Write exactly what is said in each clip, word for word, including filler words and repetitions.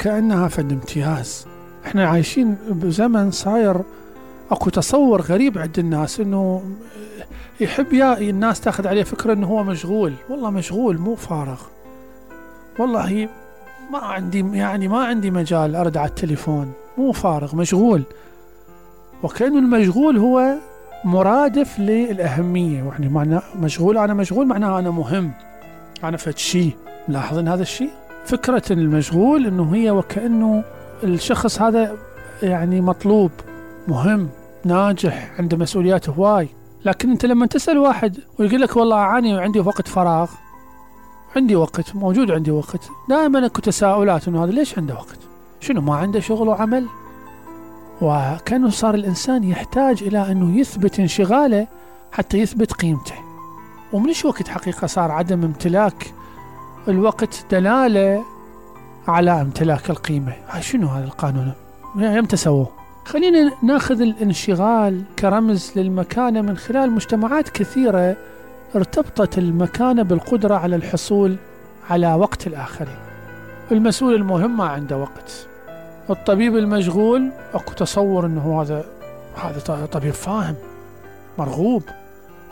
وكأنها فد امتياز. احنا عايشين بزمن صاير اكو تصور غريب عند الناس انه يحب يا الناس تاخذ عليه فكرة انه هو مشغول. والله مشغول مو فارغ، والله ما عندي يعني ما عندي مجال ارد على التليفون، مو فارغ مشغول. وكأنه المشغول هو مرادف للأهمية، يعني معنى مشغول أنا مشغول معناها أنا مهم، أنا فد شيء. ملاحظين هذا الشيء؟ فكرة المشغول إنه هي وكأنه الشخص هذا يعني مطلوب، مهم، ناجح، عنده مسؤوليات هواي. لكن أنت لما تسأل واحد ويقول لك والله أعاني وعندي وقت فراغ، عندي وقت، موجود عندي وقت، دائما اكو تساؤلات إنه هذا ليش عنده وقت؟ شنو ما عنده شغل وعمل؟ وكأنه صار الإنسان يحتاج إلى أنه يثبت انشغاله حتى يثبت قيمته. ومنش وقت حقيقة صار عدم امتلاك الوقت دلالة على امتلاك القيمة. هاي شنو هذا القانون؟ يمتى سووه؟ خلينا ناخذ الانشغال كرمز للمكانة من خلال مجتمعات كثيرة ارتبطت المكانة بالقدرة على الحصول على وقت الآخرين. المسؤول المهم ما عنده وقت، الطبيب المشغول اكو تصور انه هذا هذا طبيب فاهم مرغوب.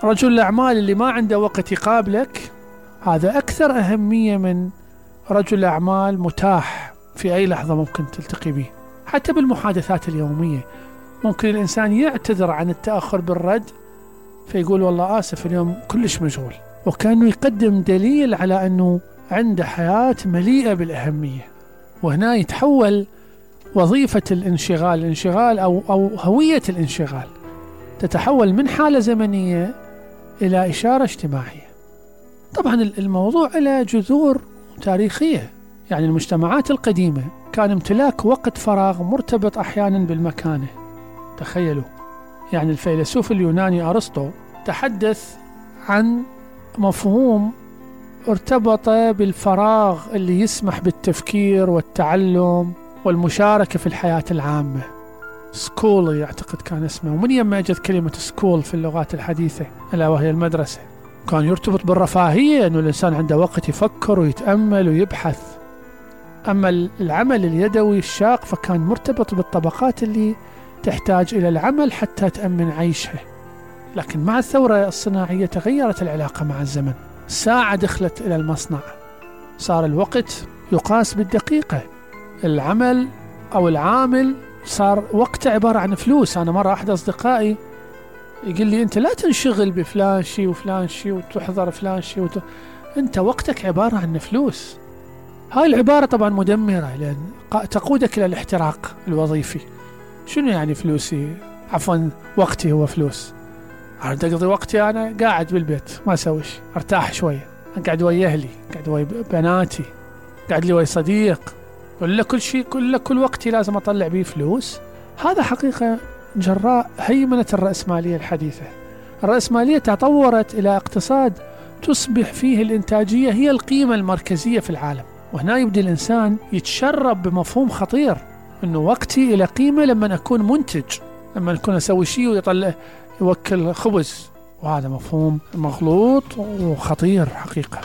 رجل الاعمال اللي ما عنده وقت يقابلك هذا اكثر اهمية من رجل اعمال متاح في اي لحظة ممكن تلتقي به. حتى بالمحادثات اليومية ممكن الانسان يعتذر عن التأخر بالرد فيقول والله اسف اليوم كلش مشغول، وكأنه يقدم دليل على انه عنده حياة مليئة بالاهمية. وهنا يتحول وظيفة الانشغال الانشغال أو, أو هوية الانشغال تتحول من حالة زمنية إلى إشارة اجتماعية. طبعا الموضوع له جذور تاريخية، يعني المجتمعات القديمة كان امتلاك وقت فراغ مرتبط أحيانا بالمكانة. تخيلوا، يعني الفيلسوف اليوناني أرسطو تحدث عن مفهوم ارتبط بالفراغ اللي يسمح بالتفكير والتعلم والمشاركة في الحياة العامة. سكول يعتقد كان اسمه، ومن يما اجت كلمة سكول في اللغات الحديثة ألا وهي المدرسة. كان يرتبط بالرفاهية، أنه الإنسان عنده وقت يفكر ويتأمل ويبحث. أما العمل اليدوي الشاق فكان مرتبط بالطبقات اللي تحتاج إلى العمل حتى تأمن عيشها. لكن مع الثورة الصناعية تغيرت العلاقة مع الزمن. ساعة دخلت إلى المصنع، صار الوقت يقاس بالدقيقة. العمل أو العامل صار وقته عبارة عن فلوس. أنا مرة أحد أصدقائي يقول لي أنت لا تنشغل بفلان شيء وفلان شيء وتحضر فلان شيء وت... أنت وقتك عبارة عن فلوس. هاي العبارة طبعا مدمرة، لأن تقودك إلى الاحتراق الوظيفي. شنو يعني فلوسي؟ عفوا وقتي هو فلوس. أريد أقضي وقتي أنا قاعد بالبيت ما أسويش، أرتاح شوية، أقعد ويا أهلي، أقعد ويا بناتي، قاعد لي ويا صديق، ولا كل شيء كل كل وقتي لازم أطلع به فلوس. هذا حقيقة جراء هيمنة الرأسمالية الحديثة. الرأسمالية تطورت إلى اقتصاد تصبح فيه الإنتاجية هي القيمة المركزية في العالم. وهنا يبدأ الإنسان يتشرب بمفهوم خطير، إنه وقتي إلى قيمة لما أكون منتج، لما أكون أسوي شيء ويطلع يوكل خبز. وهذا مفهوم مغلوط وخطير حقيقة.